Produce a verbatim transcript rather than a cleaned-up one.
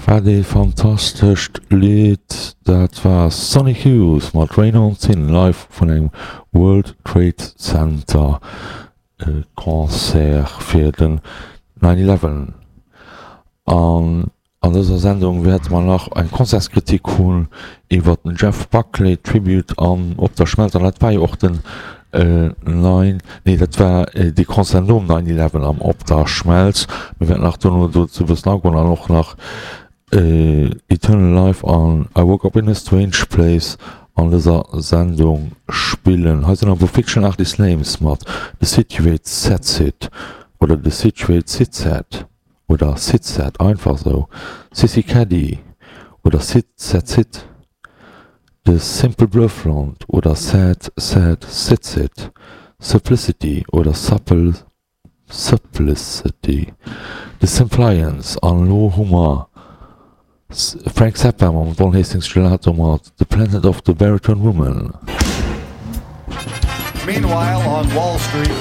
Wat ee fantastescht Lidd! Dat war Sonic Youth mat Rain on Sin live vun engem World Trade Center Concert fir den Nine Eleven. An an dëser Sendung wäerte mer nach eng Concertskritik hunn iwwer den Jeff Buckley Tribute an Op der Schmelz. An dat war jo och den Nine, nee dat war dee Concert nom Nine Eleven am Op der Schmelz. Mir wäerten nach dono dozou e bëssen agoen an och nach Eternal Life an I Woke Up In A Strange Place an dëser Sendung spillen. Hei sinn awer Fiction Artist Names mat The Situate Sets It oder The Situate Sits Set oder Sits Set einfach sou, Sissy Caddy oder Sit Set Sit, The Simple Bluffland oder Sad Sad Sit Sit, Supplicity oder Supple Supplicity, The Simplions an elo hu mer Frank Zappa mam Don Hastings Gelato mat The Planet of the Baritone Woman. Meanwhile on Wall Street.